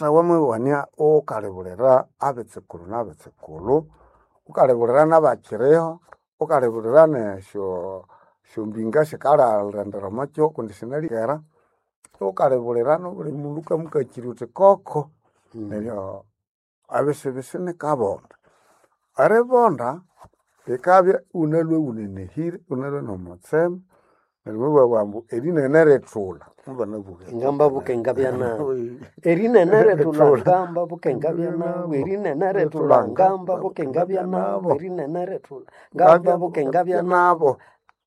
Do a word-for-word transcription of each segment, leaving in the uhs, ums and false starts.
Wamawania ghukalibulira abetsukulhu nabetsukulhu, ghukalibulira nabakiriho, ghukalibulira nesyo esyombinga esikalhalhendera omwakyihugho kundi sinalikera, ghukalibulira nobuli mundu ghukamukakirya ghuthi koko neryo ebisibisi nikabonda. Eribonda likabya ighunalhwe ighunenehire, ighunalhwe nomutsema neryo mubabugha ambu erinene rithulha mubanabugha Ngamba bukengabya nabu erinene rithulha ngamba bukengabya nabu erinene rithulha ngamba bukengabya nabu erinene rithulha ngamba bukengabya nabu nabo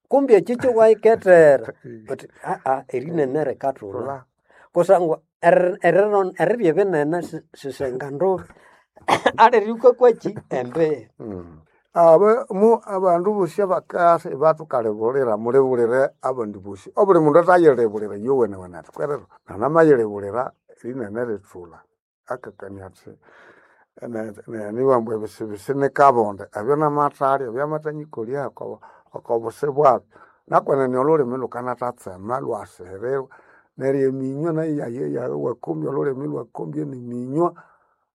kumbe ekyo kyowayikethera uthi aa erinene rikathulha kusangwa eri- eriro- erirya ebinene si- sisenga ndubi aliri wukakwaki embihi Aba mu abandu bosi abakasa ibathukalibulira mulibulire abandi bosi. Obuli mundu athayilibulira iyowenewene athi kwerero nanamayilibulira erinene rithulha akakania athi nibabughambu ebisibisi nikabonde ebyo namathalya ebyamathanyikolya oko okobusi bwabyo. Nakwenene olhulimi lhukanathatsema lhwasihirirwa neryo eminywa nayo iyayeya iwakombya olhulimi ilwakombya neminywa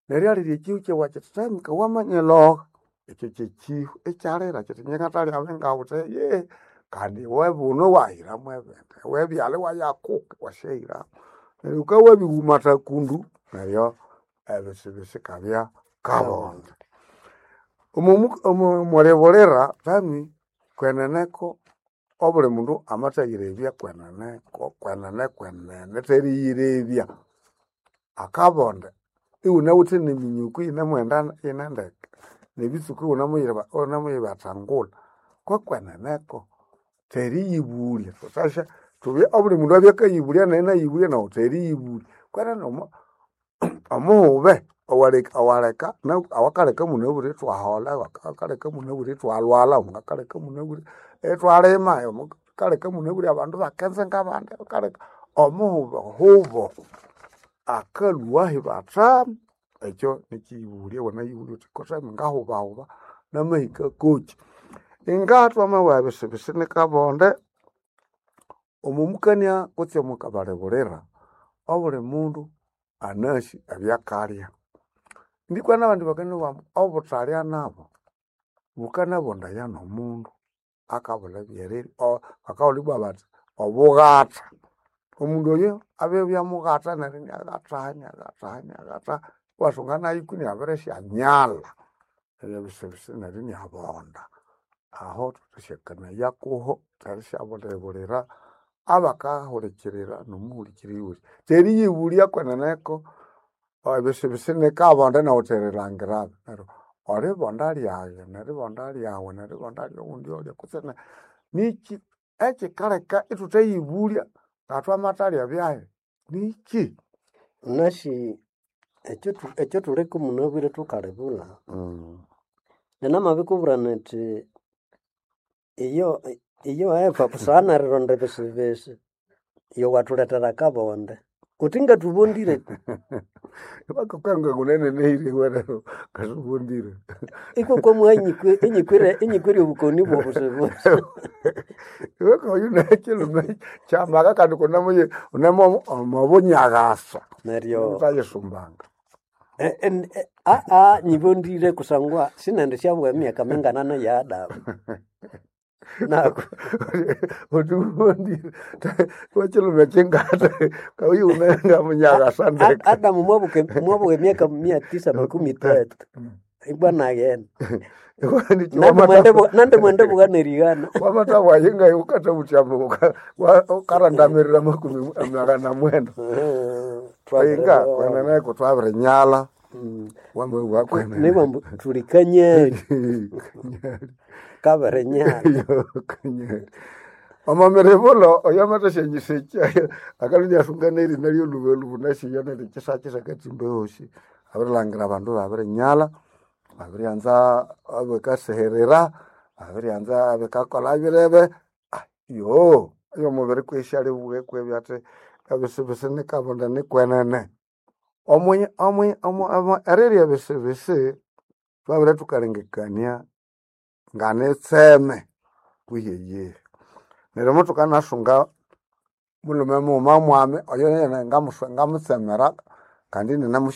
neryo alirya ekihwa kyawakyithemka wamanyiloha. Ekyo kyekihwa ikyalira kyithi ingye ngathalya ngawithe yehe kandi iwe buno iwahiramu ebindi, iwe byalha iwayakuka iwasyahiramu. Neryo wukabya wabirihumatha kundu neryo ebisibisi ikabya kabonde. Omo omwilibulira thami kweneneko obuli mundu amathayirebya kweneneko kwenene kwenene theriyibya akabonde ighunawithe neminyuku iyinemughenda iyine ndeke nebitsuku ighunamuyiriba ighunemuyibathangulha kokweneneko theriyibulya thuthasya thubye obuli mundu abye akayibulya nayi inayibulya nawu theriyibulya. Kwenene omo omughube owaleka owaleka awakaleka imunabwire ithwaholha, awakaleka imunabwire ithwalhwalha, awakaleka imunabwire ithwalima, awakaleka imunabwire abandu ibakenza ngabandi, awakaleka omughube hubo akalhwahi bathami. Ekyo nikyiyibulya wanayibulya wuthi kutse ngahubahuba namahika kokyi. Inga twamabugha ebisibisi nikabonde, omomukania kutse omokabalibulira, obuli mundu anasi ebyakalya. Ndikwa nabandi bakanabugha ambu obuthalya nabo bukanabondaya nomundu akabulha ebyerirya bakahulha ibwa bathi obughatha. Omundu oyo abibya mughatha neryo iniaghatha iniaghatha iniaghatha iwasunga nayu kwiniabirisyanyalha. Neryo ebisibisi neryo iniabonda. Aho thukasyakanaya kuho erisyabulibulira abakahulikirira nomuhulikiriri wosi. Theriyibulya kweneneko ebisibisi nikabonde nawu wuthi erilangirabi neryo olibonda lyaghe neribonda lyaghu neribonda lyoghundi olya kutse nikyi ekyikaleka ithuthayibulya ngathwamathalya byahi nikyi? Wunasi ekyo ekyathuleka munabwire thukalibulha ninamabikubwira nithi iyo iyo Eva busana nerironda ebisibisi yowathulethera akabonde kuthi ngathubondire Bakakanga ngunenenehire werero kasubondire. ikwa inyikwire inyikwire obukoni bwobusibisi Iwe oyu nekilume kyamaka kandi kunemuyi unemo omobunyagasa neryo utayisumbanga. aa nyibondire kusangwa sinendi syabugha emyaka minganana ya Adamu naku Uthi ubondire wekilume kyingata kauyu unenga munyagasa ndeke. Adamu mwabuka mwabuka emyaka mia tisa makumi tatu ibwa naghenda nandi mwende bugha nerighana Wamata bwayinga ukathabuthya ukarandamirira makumi magana mwenda. Inga kweneneko twabirinyalha wamabugha kwenene. nibambu thuli kanyali kabirinyalha Kanyali. Omo miribulo oyo amathasyanyiseki akalhwa iniasunga nerina lyolhubalhuba nasiyo neryo kyisakisa akatimba ahosi. Abirilhangira abandu ibabirinyalha, babiryanza ebikasihirira, babiryanza ebikakolha birebe, eyomubiri kwisi alibugha kwibya athi ebisibisi nikabonde nikwenene. Omwi omwi erirya ebisibisi thwabere thukalengekania nganitseme kwihi eyihi. Neryo muthukanasunga mulhume mughuma mwami oyo nene ngamutsemera Kandi ininamu